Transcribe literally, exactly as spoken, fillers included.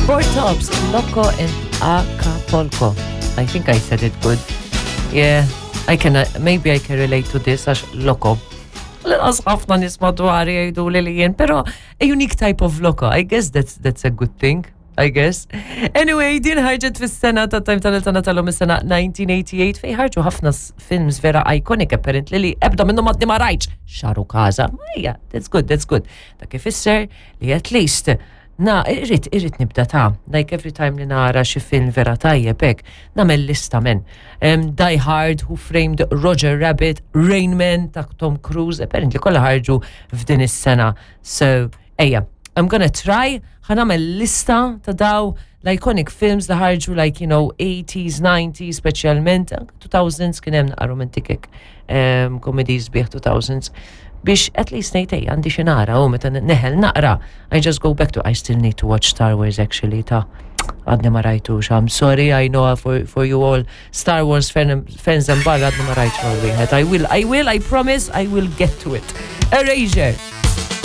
Four Tops, Loco in Acapulco. I think I said it good. Yeah, I can, uh, maybe I can relate to this għax loco. Lanqas ħafna nies madwari jgħidu li li jien, pero a unique type of loco. I guess that's, that's a good thing. I guess. Anyway, din ħarġet fis-sena ta' Time Tunnel tagħna tal-lum is-sena nineteen eighty-eight fej ħarġu ħafna s- films vera iconic apparently li ebda minnhom għadni ma rajtx. X'għarukaża. Ma ija, that's good, that's good. Dak ifisser li at least na, irrid, irrid nibda ta' like every time li nara xi film vera tajjeb hekk, nagħmel lista men. Um, Die Hard, Who Framed Roger Rabbit, Rain Man ta' Tom Cruise, apparently kollha ħarġu f'din is-sena. So, ejja, I'm gonna try, ħa nagħmel lista ta' daw l-iconic films li ħarġu like, you know, eighties, nineties, specialment, two thousands kien hemm naqra romantic um, comedies bieħ two thousands biex at least ngħid ej, għandi xi nara u meta neħel naqra I just go back to. I still need to watch Star Wars, actually, ta' għadni ma rajtux. I'm sorry, I know for, for you all Star Wars fan, fans and barra, għadni ma rajtx wieħed. I will, I will, I promise I will get to it. Erasure.